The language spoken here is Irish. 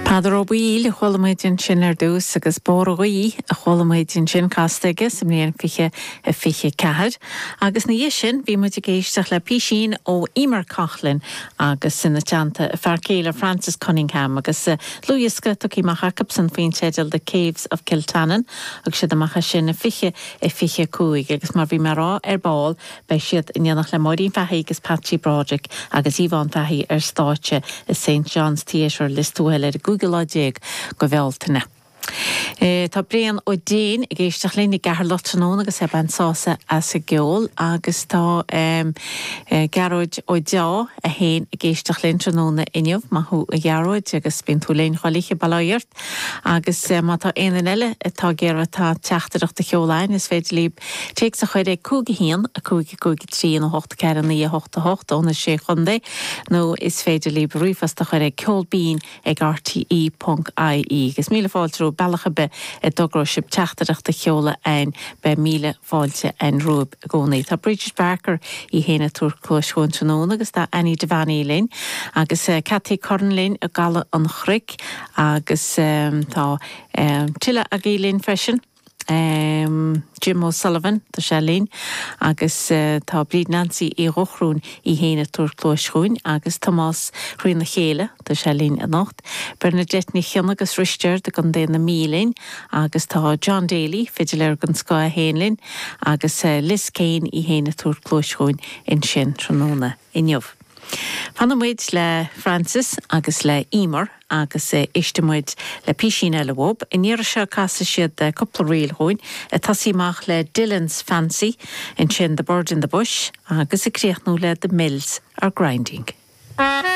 Peadar Ó Baoill a chuala muid ansin ar dtús agus Bóthar an Ghaoith a chuala muid ansin casta aige sa mbliain 2024. Agus ina dhiaidh sin bhí muid ag éisteacht le písín ó Eimear Coughlan agus ina teannta a fear céile Francis Cunningham agus dlúthdhiosca tugtha amach acubsan faoin teideal The Caves of Kiltannon. Thug siad amach é sin i 2025 agus mar bhí mé a rá ar ball Beidh siad in éineacht le Máirín Fahy agus Patsy Broderick agus Yvonne Fahy ar stáitse i Saint John's Theatre, Lios Tuathail ar an gcúigiú lá déag de Bhealtaine. Tá Brian Ó Déin ag éisteacht linn i gCeatharlach tráthnóna agus é ag baint sásamh as an gceol agus tá Gearóid Ó Deá é féin ag éisteacht linn tráthnóna inniu. Maith thú a Ghearóid agus bíonn tú linn chuile oíche bail ó Dhia ort. Agus má tá aon duine eile atá ag iarraidh tá teachtaireacht a sheoladh a'ainn is féidir libh téacs a chur ag 5 1 5 5 3 nó 8 4 9 8 8 ó na Sé Chontae nó is féidir libh ríomhphost a chur ag ceolbinn ag rte ponc ie. Agus míle fáilte romhaibh bealach ar bith a dtogróidh sibh teachtaireacht a sheoladh a'ainn beidh míle fáilte a'ainn romhaibh i gcónaí. Tá Bridget Barker í féin ag tabhairt cluais chugainn tráthnóna agus tá Annie Devaney linn agus Cathy Curran linn i gCaladh an Chnoic agus tá tuilleadh agaibh linn freisin. Jim O'Sullivan, tá sé linn agus tá Bríd Nancy Uí Dhochrúin í féin ag tabhairt cluais chugainn agus Tomás Thrína Chéile, tá sé linn anocht. Bernadette Ní Chionnaith as Risteard i gContae na Mí linn agus tá John Daly, fidiléir den scoth é féin linn agus Liz Kane í féin ag tabhairt cluais chugainn ansin tráthnóna inniu. Fanfaidh muid le Francis agus le Eimear agus éistfidh muid le písín eile uathub. An iarraidh seo casfaidh siad cúpla ríl dhúinn, ag tosaí amach le Dillon's Fancy, ansin The Bird in the Bush agus ag críochnú le The Mills are Grinding.